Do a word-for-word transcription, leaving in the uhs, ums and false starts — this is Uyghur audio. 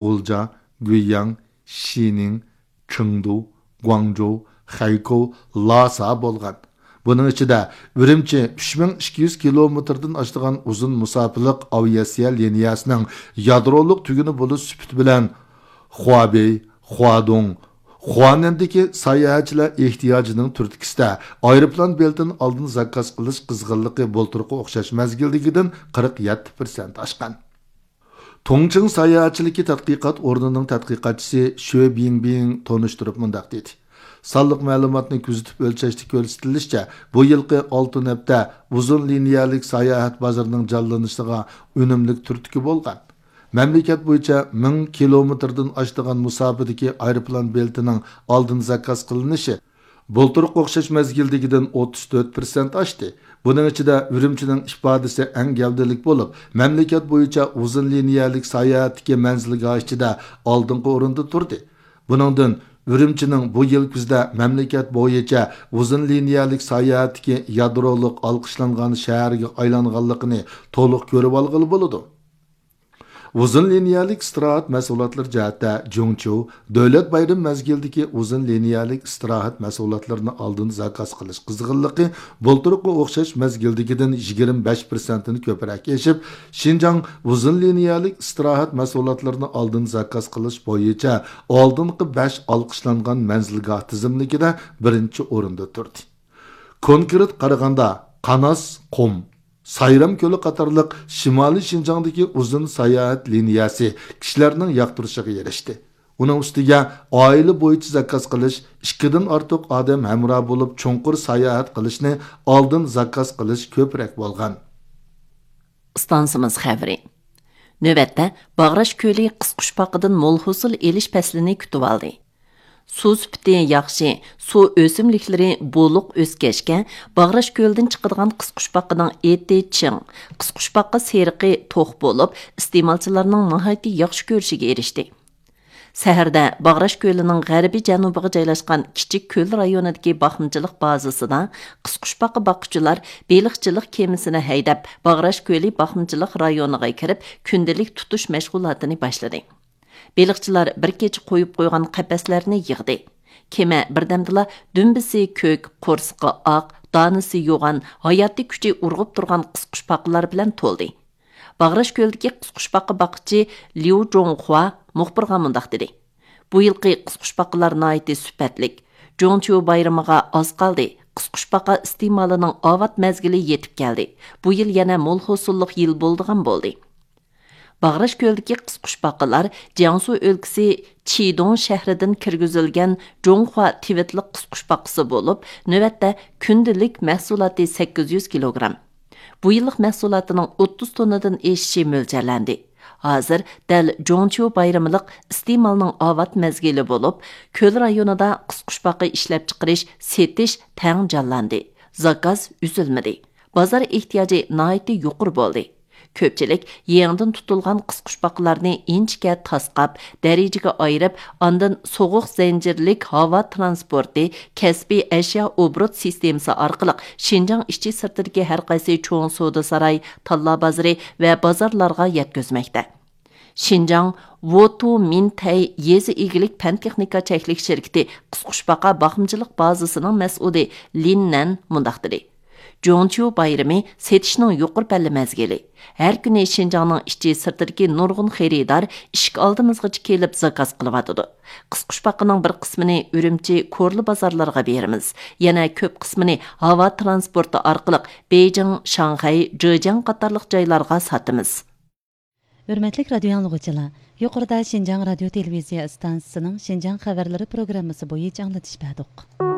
غۇلجا، گۇيياڭ، شىنىڭ، چېڭدۇ، گۇاڭجۇ، خەيكوۋ، لاسا بولغان. بۇنىڭ ئىچىدە ئۈرۈمچى ئۈچ مىڭ ئىككى يۈز كىلومېتىردىن ئاشىدىغان ئۇزۇن مۇساپىلىق ئاۋىئاتسىيە لىنىيەسىنىڭ يادرولۇق تۈگۈنى بولۇش سۈپىتى بىلەن خۇابېي، خۇادۇڭ، خۇانەندىكى ساياھەتچىلەر ئېھتىياجىنىڭ تۈرتكىسىدە ئايروپىلان بېلىتىنى ئالدىن زاكاز قىلىش قىزغىنلىقى بۇلتۇرقى ئوخشاش مەزگىلدىكىدىن قىرىق يەتتە پىرسەنت ئاشقان. تۇڭچىڭ ساياھەتچىلىكى تەتقىقات ئورنىنىڭ تەتقىقاتچىسى شۆ بىڭبىڭ تونۇشتۇرۇپ مۇنداق دېدى: سانلىق مەلۇماتنى كۆزىتىپ ئۆلچەشتە كۆرسىتىلىشىچە، بۇ يىلقى ئالتە ھەپتە ئۇزۇن لىنىيەلىك ساياھەت بازىرىنىڭ جانلىنىشىغا ئۈنۈملۈك تۈرتكە بولغان. مەملىكەت بويىچە مىڭ كىلومېتىردىن ئاشىدىغان مۇساپىدىكى ئايروپىلان بېلىتىنىڭ ئالدىن زاكاز قىلىنىشى بۇلتۇرقى ئوخشاش مەزگىلدىكىدىن ئوتتۇز تۆت پىرسەنت ئاشتى. بۇنىڭ ئىچىدە ئۈرۈمچىنىڭ ئىپادىسى ئەڭ گەۋدىلىك بولۇپ، مەملىكەت بويىچە ئۇزۇن لىنىيەلىك ساياھەتتىكى مەنزىلگاھ ئىچىدە ئالدىنقى ئورۇندا تۇردى. بۇنىڭدىن ئۈرۈمچىنىڭ بۇ يىل كۈزدە مەملىكەت بويىچە ئۇزۇن لىنىيەلىك ساياھەتتىكى يادرولۇق ئالقىشلانغان شەھەرگە ئايلانغانلىقىنى تولۇق كۆرۈۋالغىلى بولىدۇ. ئۇزۇن لىنىيەلىك ئىستىراھەت مەھسۇلاتلىرى جەھەتتە جۇڭچيۇ دۆلەت بايرىمى مەزگىلىدىكى ئۇزۇن لىنىيەلىك ئىستىراھەت مەھسۇلاتلىرىنى ئالدىن زاكاز قىلىش قىزغىنلىقى بۇلتۇرقى ئوخشاش مەزگىلدىكىدىن يىگىرمە بەش پىرسەنتتىن كۆپرەك ئېشىپ، شىنجاڭ ئۇزۇن لىنىيەلىك ئىستىراھەت مەھسۇلاتلىرىنى ئالدىن زاكاز قىلىش بويىچە ئالدىنقى بەش ئالقىشلانغان مەنزىلگاھ تىزىملىكىدە بىرىنچى ئورۇندا تۇردى. كونكرېت قارىغاندا، قاناس، قۇم، سايرام كۆلى قاتارلىق شىمالىي شىنجاڭدىكى ئۇزۇن ساياھەت لىنىيەسى كىشىلەرنىڭ ياقتۇرۇشىغا ئېرىشتى. ئۇنىڭ ئۈستىگە ئائىلە بويىچە زاكاز قىلىش، ئىككىدىن ئارتۇق ئادەم ھەمراھ بولۇپ چوڭقۇر ساياھەت قىلىشنى ئالدىن زاكاز قىلىش كۆپرەك بولغان. ئىستانسىمىز خەۋىرى. نۆۋەتتە باغراش كۆلى قىسقۇچپاقىدىن مول ھوسۇل ئېلىش پەسلىنى كۈتۈۋالدى. سۇ سۈپىتى ياخشى، سۇ ئۆسۈملۈكلىرى بولۇق ئۆسكەچكە، باغراش كۆلىدىن چىقىدىغان قىسقۇچپاقىنىڭ ئېتى چىڭ، قىسقۇچپاقا سېرىقى توق بولۇپ، ئىستېمالچىلارنىڭ ناھايىتى ياخشى كۆرۈشىگە ئېرىشتى. سەھەردە باغراش كۆلىنىڭ غەربىي جەنۇبىغا جايلاشقان كىچىك كۆل رايونىدىكى باقمىچىلىق بازىسىدا قىسقۇچپاقا باققۇچىلار بېلىقچىلىق كېمىسىنى ھەيدەپ، باغراش كۆلى باقمىچىلىق رايونىغا كىرىپ، كۈندىلىك تۇتۇش مەشغۇلاتىنى باشلىدى. بېلىقچىلار بىر كېچە قويۇپ قويغان قەپەسلەرنى يىغدى. كېمە بىردەمدىلا دۈمبىسى كۆك، قورسىقى ئاق، دانىسى يوغان، ھاياتىي كۈچى ئۇرغۇپ تۇرغان قىسقۇچپاقىلار بىلەن تولدى. باغراش كۆلىدىكى قىسقۇچپاقا باققۇچى ليۇ جوڭخۇا مۇخبىرغا مۇنداق دېدى: بۇ يىلقى قىسقۇچپاقىلار ناھايىتى سۈپەتلىك. جوڭچيۇ بايرىمىغا ئاز قالدى. قىسقۇچپاقا ئىستېمالىنىڭ ئاۋات مەزگىلى يېتىپ كەلدى. بۇ يىل يەنە مول ھوسۇللۇق يىل بولىدىغان بولدى. باغراش كۆلىدىكى قىسقۇچپاقىلار جياڭسۇ ئۆلكىسى چىدۇڭ شەھىرىدىن كىرگۈزۈلگەن جوڭخۇا تىۋىتلىق قىسقۇچپاقىسى بولۇپ، نۆۋەتتە كۈندىلىك مەھسۇلاتى سەككىز يۈز كىلوگرام. بۇ يىللىق مەھسۇلاتىنىڭ ئوتتۇز توننىدىن ئېشىشى مۆلچەرلەندى. ھازىر دەل جوڭچيۇ بايرىملىق ئىستېمالنىڭ ئاۋات مەزگىلى بولۇپ، كۆل رايونىدا قىسقۇچپاقا ئىشلەپچىقىرىش، سېتىش تەڭ جانلاندى. زاكاز ئۈزۈلمىدى. بازار ئېھتىياجى ناھايىتى يۇقىرى بولدى. كۆپچىلىك يېڭىدىن تۇتۇلغان قىسقۇچپاقىلارنى ئىنچىكە تاسقاپ، دەرىجىگە ئايرىپ، ئاندىن سوغۇق زەنجىرلىك ھاۋا ترانسپورتى، كەسپىي ئەشيا ئوبوروت سىستېمىسى ئارقىلىق شىنجاڭ ئىچى سىرتىدىكى ھەر قايسى چوڭ سودا ساراي، تاللا بازىرى ۋە بازارلارغا يەتكۈزمەكتە. شىنجاڭ ۋوتۇ مىنتەي يېزا ئىگىلىك پەن تېخنىكا چەكلىك شىركىتى قىسقۇچپاقا باقمىچىلىق بازىسىنىڭ مەسئۇلى لىن نەن مۇنداق دېدى: جوڭچيۇ بايرىمى سېتىشنىڭ يۇقىرى پەللە مەزگىلى. ھەر كۈنى شىنجاڭنىڭ ئىچى سىرتىدىكى نۇرغۇن خېرىدار ئىشىك ئالدىمىزغىچە كېلىپ زاكاز قىلىۋاتىدۇ. قىسقۇچپاقىنىڭ بىر قىسمىنى ئۈرۈمچى، كورلا بازارلىرىغا بېرىمىز. يەنە كۆپ قىسمىنى ھاۋا ترانسپورتى ئارقىلىق بېيجىڭ، شاڭخەي، جېجياڭ قاتارلىق جايلارغا ساتىمىز. ھۆرمەتلىك رادىيو ئاڭلىغۇچىلار، يۇقىرىدا شىنجاڭ رادىيو تېلېۋىزىيە ئىستانسىسىنىڭ شىنجاڭ خەۋەرلىرى پروگراممىسى بويىچە ئاڭلىتىش بەردۇق.